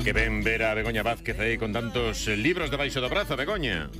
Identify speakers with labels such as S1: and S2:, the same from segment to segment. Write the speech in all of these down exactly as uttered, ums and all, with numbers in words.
S1: Que ven ver a Begoña Vázquez aí con tantos eh, libros debaixo do brazo, Begoña.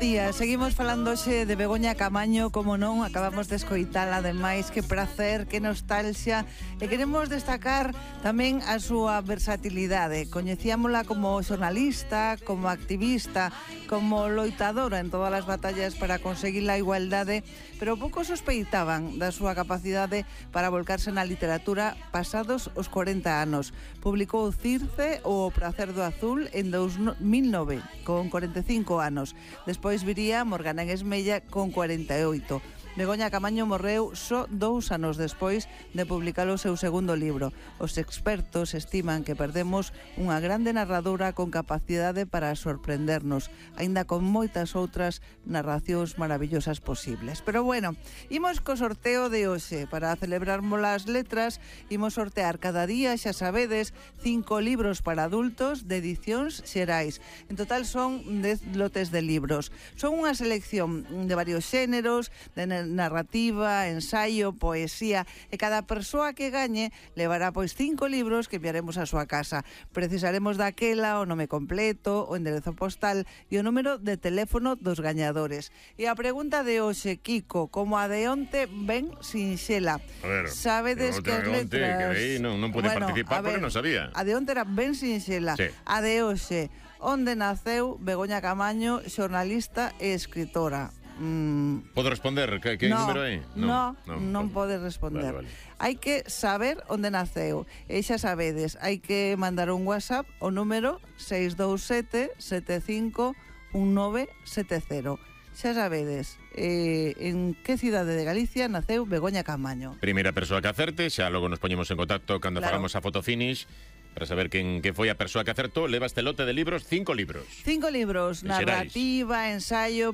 S2: Día, seguimos falando hoxe de Begoña Camaño, como non, acabamos de escoitala, ademais, que prazer, que nostalgia, e queremos destacar tamén a súa versatilidade. Coñecíamola como xornalista, como activista, como loitadora en todas as batallas para conseguir a igualdade, pero pouco sospeitaban da súa capacidade para volcarse na literatura pasados os corenta anos. Publicou Circe ou O prazer do azul en dos mil nove, con corenta e cinco anos. Despois viría Morgana en Esmella con cuarenta e oito. Begoña Camaño morreu só dous anos despois de publicar o seu segundo libro. Os expertos estiman que perdemos unha grande narradora con capacidade para sorprendernos, aínda con moitas outras narracións maravillosas posibles. Pero bueno, imos co sorteo de hoxe. Para celebrarmos as letras, imos sortear cada día, xa sabedes, cinco libros para adultos de edicións xerais. En total son dez lotes de libros. Son unha selección de varios xéneros, de narrativa, ensaio, poesía, e cada persoa que gañe levará pois cinco libros que enviaremos á súa casa. Precisaremos daquela o nome completo, o enderezo postal e o número de teléfono dos gañadores. E a pregunta de hoxe, Kiko, como a de onte, ben sinxela.
S1: A ver,
S2: sabedes que as letras...
S1: Que aí non, non pude
S2: bueno,
S1: participar porque non sabía.
S2: A de onte era ben sinxela.
S1: Sí.
S2: A de hoxe, onde naceu Begoña Camaño, xornalista e escritora? Mm.
S1: Podo responder? Que, que
S2: no,
S1: número é?
S2: No, non, non
S1: vale.
S2: podes responder.
S1: Vale, vale.
S2: Hai que saber onde naceu. E xa sabedes, hai que mandar un WhatsApp ao número seis dous sete, sete cinco, un nove sete cero. Xa sabedes, eh, en que cidade de Galicia naceu Begoña Camaño.
S1: Primeira persoa que acerte, xa logo nos poñemos en contacto cando
S2: claro.
S1: Fagamos a foto finish para saber quen que foi a persoa que acertou. Leva este lote de libros, cinco libros.
S2: Cinco libros, narrativa, ensaio,